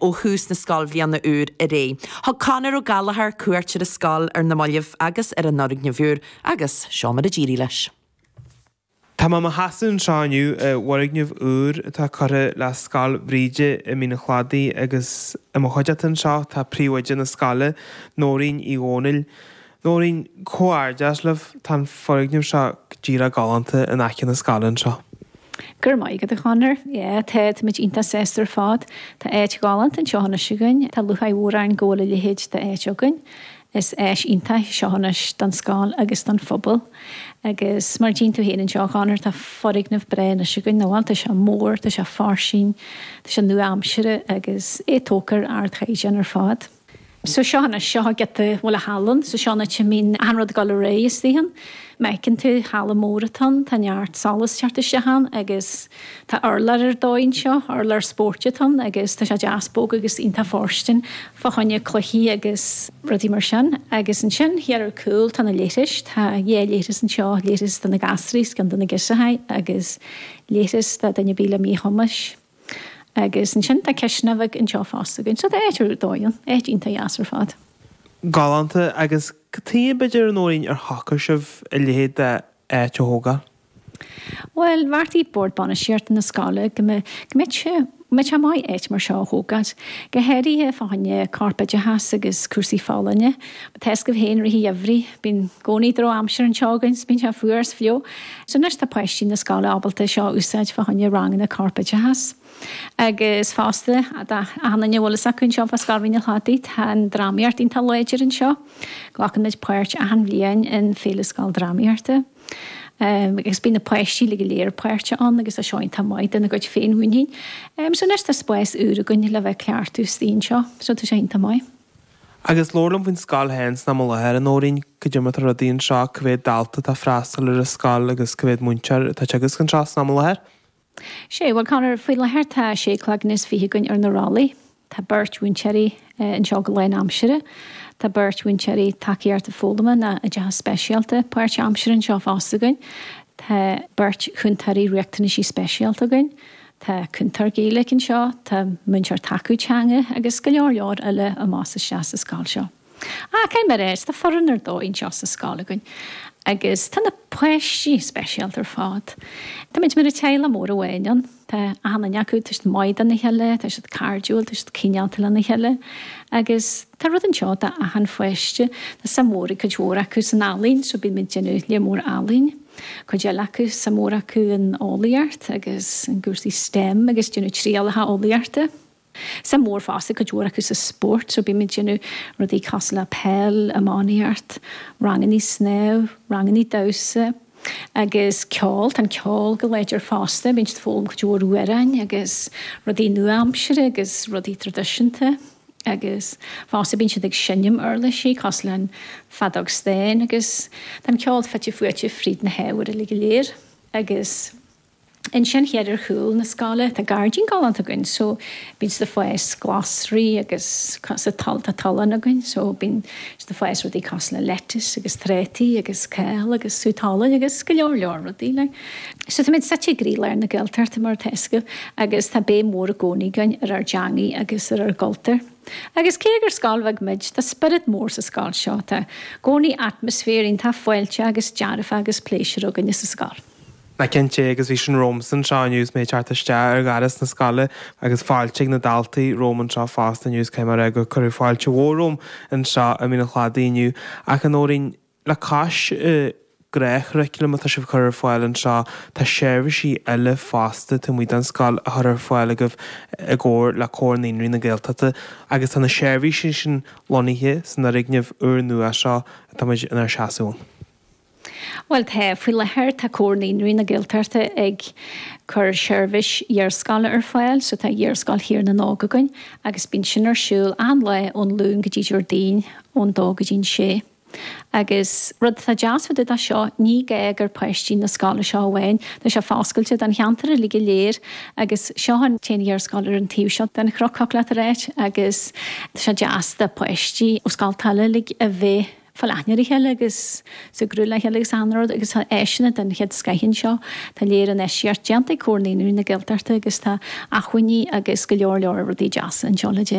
Ó thús na scoilbhliana úr ar aghaidh. Thug Conor Ó Gallchóir cuairt ar an scoil ar na mallaibh agus ar an fhoirgneamh úr agus seo mar a d'éirigh leis. Tá mé i mo sheasamh anseo inniu i bhfoirgneamh úr atá curtha le Scoil Bhríde i Mín an Chladaigh agus i mo chuideachta anseo tá príomhoide na scoile, Nóirín Uí Dhomhnaill. Nóirín, comhghairdeas libh, tá an foirgneamh seo go díreach galánta in aice na scoile anseo. Go raibh maith agat a Chonor. Yeah, tá, táimid iontach sásta ar fad. Tá áit ghalánta anseo anois againn. Tá lúcháir mhór orainn go bhfuil a leithéid d'áit againn. Is áis iontach í seo anois don scoil agus don phobal. Agus mar a tchíonn tú féin anseo a Chonor, tá foirgneamh breá anois againn, nach bhfuil? Tá sé mór, tá sé fairsing, tá sé nua-aimseartha agus é tógtha ar ardchaighdeán ar fad. So seo anois, seo giota bhfuil a halla ann, so seo an áit a mbíonn achan rud ag dul ar aghaidh istigh ann. Má fheiceann tú, halla mór atá ann, tá neart solas ag teacht isteach ann agus tá urlár ar dóigh anseo, urlár spóirt atá ann agus tá sé deas bog agus iontach fóirstean fá choinne cluichí agus rudaí mar sin. Agus ansin thiar ar cúl tá na leithris, tá dhá leithreas anseo, leithreas do na gasraí is ceann do na girseachaí agus leithreas do duine ar bith le míchumais. Agus ansin tá cisteanach bheag anseo fosta againn. So tá áit ar dóigh ann, áit iontach dheas ar fad. Galánta. Agus cad chuige, b'fhéidir, a Nóirín, ar shocair sibh a leithéid d'áit a thógáil? Bhuel, bheartaigh Bord Bainistíochta na scoile go mbeadh, go mbeadh sé, go mbeadh sé maith áit mar seo a thógáil. Go háirithe fá choinne corpoideachas agus cúrsaí folláine. Tá fhios agaibh féin i rith an gheimhridh, bíonn i gcónaí drochaimsir anseo againn 's bíonn sé fuar 's fliuch. So anois tá páistí na scoile ábalta seo a úsáid fá choinne ranganna corpoideachas. Agus fosta, d'achan duine a bhfuil fhios acu anseo fá Scoil Mhín an Chladaigh, tá an drámaíocht iontach láidir anseo. Glacann muid páirt achan bhliain in Féile Scoil Drámaíochta. Agus bíonn na páistí uilig go léir páirteach ann agus tá seo iontach maith dona gcuid féinmhuinín. So anois tá spás úr againn le bheith ag cleachtadh istigh anseo, so tá sé iontach maith. Agus labhair liom faoin scoil féin san am i láthair, a Nóirín, cad é mar atá rudaí anseo, cá mhéad dalta atá ag freastal ar an scoil agus cá mhéad múinteoir atá ag teagasc anseo san am i láthair? Sé, bhuel Conor, faoi láthair tá sé cloigne is fiche againn ar na rollaí. Tá beirt mhúinteoirí anseo go lánaimseartha. Tá beirt mhúinteoirí tacaíochta foghlama nó oideachas speisialta páirtaimseartha anseo fosta againn. Tá beirt chúntóirí riachtanaisí speisialta againn. Tá cúntóir Gaeilge anseo, tá múinteoir tacú teanga agus go leor leor eile amach is isteach sa scoil seo. Ach caithfidh mé a rá, tá foireann ar dóigh anseo sa scoil againn agus tá na páistí speisialta ar fad. Táimid mar teaghlach mór amháin ann. Tá achan duine acu, tá siad maith dona chéile, tá siad cairdiúil, tá siad cineálta lena chéile agus tá rud anseo d'achan pháiste. Tá suim mhór ag cuid mhór acu san ealaín so bíonn muid ag déanamh lear mór ealaín. Cuid eile acu, suim mhór acu in eolaíocht agus in gcúrsaí STEM agus déanamh trialacha eolaíochta. Suim mhór fosta ag cuid mhór acu sa spórt so bímid ag déanamh rudaí cosúil le peil, iománaíocht, rangannaí snámh, rangannaí damhsa agus ceol. Tá an ceol go láidir fosta, bíonn siad ag foghlaim cuid mhór amhráin agus rudaí nua-aimseartha agus rudaí traidisiúnta. Agus fosta bíonn siad ag seinm uirlisí cosúil le an feadóg stáin agus tá an ceol fite fuaite fríd na hábhair uilig go léir. Agus ansin thiar ar chúl na scoile tá gairdín galánta againn so bíonn siad ag fás glasraí agus sa tá tollán againn so bíonn siad ag fás rudaí cosúil le lettuce agus trátaí agus cál agus sú talaimh agus go leor leor rudaí like. So táimid suite i gcroílár na Gaeltachta mar atá fhios agaibh agus tá béim mhór i gcónaí againn ar ár dteangaidh agus ar ár gcultúr. Agus cé gur scoil bheag muid, tá spiorad mór sa scoil seo. Tá i gcónaí atmaisféar iontach fáilteach agus dearfach agus pléisiúr againne sa scoil. Ná cinnte, agus bhí sin romhamsa anseo inniu is mé ag teacht isteach ar dhoras na scoile agus fáilte ag na daltaí romham anseo fosta inniu is caithfidh mé a rá gur cuireadh fáilte mhór romham anseo i Mín an Chladaigh inniu. Ach a Nóirín, Le cois an ghnáthchuraclaim atá sibh a chur ar fáil anseo, tá seirbhísí eile fosta taobh amuigh den scoil á chur ar fáil agaibh i gcomhar le Comhar Naíonraí na Gaeltachta agus tá na seirbhísí sin lonnaithe san fhoirgneamh úrnua seo atá muid inár seasamh ann. Bhuel tá, faoi láthair tá Comhar Naíonraí na Gaeltachta ag cur seirbhís iarscoile ar fáil, so tá Iarscoil Thír na nÓg againn agus bíonn sin ar siúl achan lá ón Luan go dtí Déardaoin ón dó go dtí an sé. Agus rud atá deas fá dtaobh de seo, ní gá gur páistí na scoile seo amháin, tá sé foscailte don cheantar uilig go léir agus seo an t-aon iarscoil ar an taobh seo den chnoc, thiocfadh leat a ráit, agus tá sé deas do pháistí ó scolta eile uilig a bheith. Fáil aithne ar a chéile agus súgradh le chéile agus achan rud agus tá áiseanna den chéad scoith anseo. Tá léir infheistíocht déanta ag Comhar Naíonraí na Gaeltachta agus tá acmhainní agus go leor leor rudaí deasa anseo le déanamh.